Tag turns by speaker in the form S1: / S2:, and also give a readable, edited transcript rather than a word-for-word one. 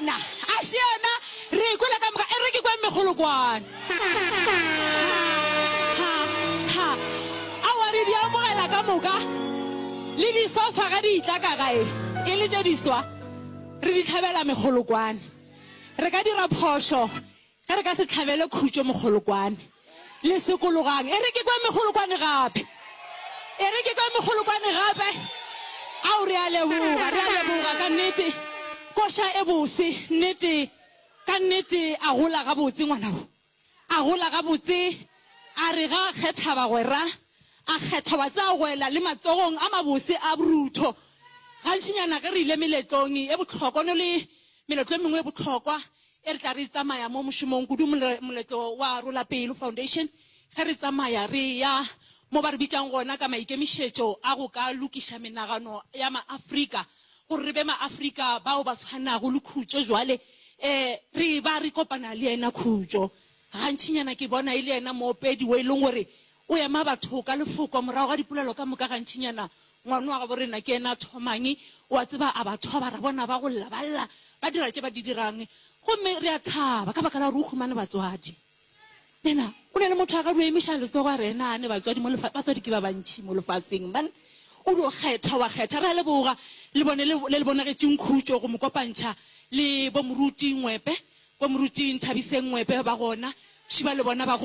S1: yona? A še yona? Re e kwele ka moka. E re ke kweng mekgolokwane. Ha, ha, ha. Aowa, re di amogela ka moka. Le disofa ge di etla ka gae e le tše diswa, re di hlabela mekgolokwane. Re ka dira phošo Ge re ka se hlabele khutšo mokgolokwane, le sekologang. E re ke kwe mekgolokwane gape. E re ke kwe mekgolokwane gape. Ao, re a leboga, re a leboga, ka nnete. Koša e bose, nnete, ka nnete. A gola gabotse ngwana wo. A gola gabotse. A re ga a kgetha bagwera, a kgetha wa tsaya go ela le matsogong a mabose a borutho. Gantšinyana ge re ile meletlong e bohlokwa, no le meletlo e mengwe e bohlokwa, E re tla re tsamaya mo mošomong, kudu moletlo wa Rola Pelo Foundation, ge re tsamaya re eya mo ba re bitšang gona ka maikemišetšo a go ka lokiša menagano ya maAfrika gore re be maAfrika bao ba tshwanago le Khutšo jwale, e re ba re kopana le yena Khutšo. Gantšinyana ke bona e le yena moopedi wo e leng gore o ema batho ka lefoko morago ga dipolelo ka moka gantšinyana Ngwana wa gabo rena ke yena a thomang, o a tseba, a ba thoba, ra bona ba go lla, ba lla, ba dira tše ba di dirang. Gomme re a thaba ka baka la gore o humane batswadi. Nena, o na le motho a ka dio emiša letsogo a re, Ena a ne batswadi mo lefa, batswadi ke ba bantši mo lefaseng, man. O dio kgetha, wa kgetha. Re a leboga, le bone le, le le bonagetšeng khutšo go mo kopantšha le bo Moruti Ngwepe, bo Moruti Nthabiseng Ngwepe ba gona, šiba le bona ba gona.